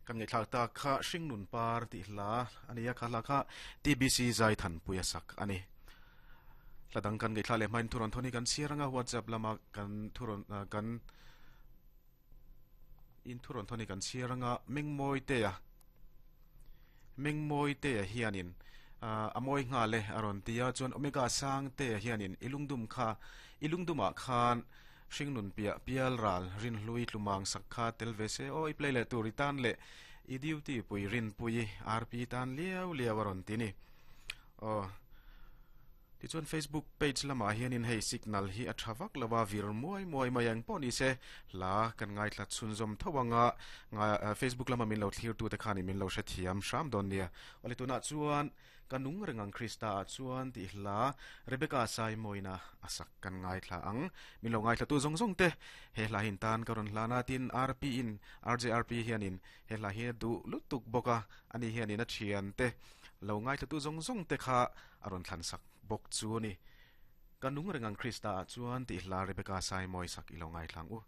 Kan ngaihthlak tak kha Hringnun Par tih hla a ni a, kha hla kha TBC Zaithanpui a sak a ni. Hla dang kan ngaihthlak leh hmain thurawn thawn hi kan chhiar anga WhatsApp lama kan thurawn kan in thurawn thawn hi kan chhiar anga Mengmawi Tea Mengmawi Tea hianin a mawi nghal e a rawn ti a, chuan Omega Sangtea hianin i lungdum kha i lungdumah khan Hringnun piah pial ral Rinhlui tlumang sak kha tel ve se aw i play leh tur i tan leh i duty pui Rinpui RP tan liau liau a rawn ti ni. Aw Tichuan Facebook page lamah hianin hei signal hi a tha vak lo a vir muai muai mai ang pawh ni se hla kan ngaithla chhunzawm tho anga Facebook lama min lo thlir tute khanin min lo hrethiam hram dawn nia. Awle tunah chuan Ka nung reng ang Krista ah chuan tih hla Rebecca Saimawina a sak kan ngaithla ang. Min lo ngaithlatu zawng zawng te he hla hin tan ka rawn hlan a tin RP in RJRP hianin he hla hi a duh lutuk bawk a, ani hianin a thian te lo ngaithlatu zawng zawng te kha a rawn thlan sak bawk chu a ni. Ka nung reng ang Krista ah chuan tih hla Rebecca Saimawi sak i lo ngaithla ang u.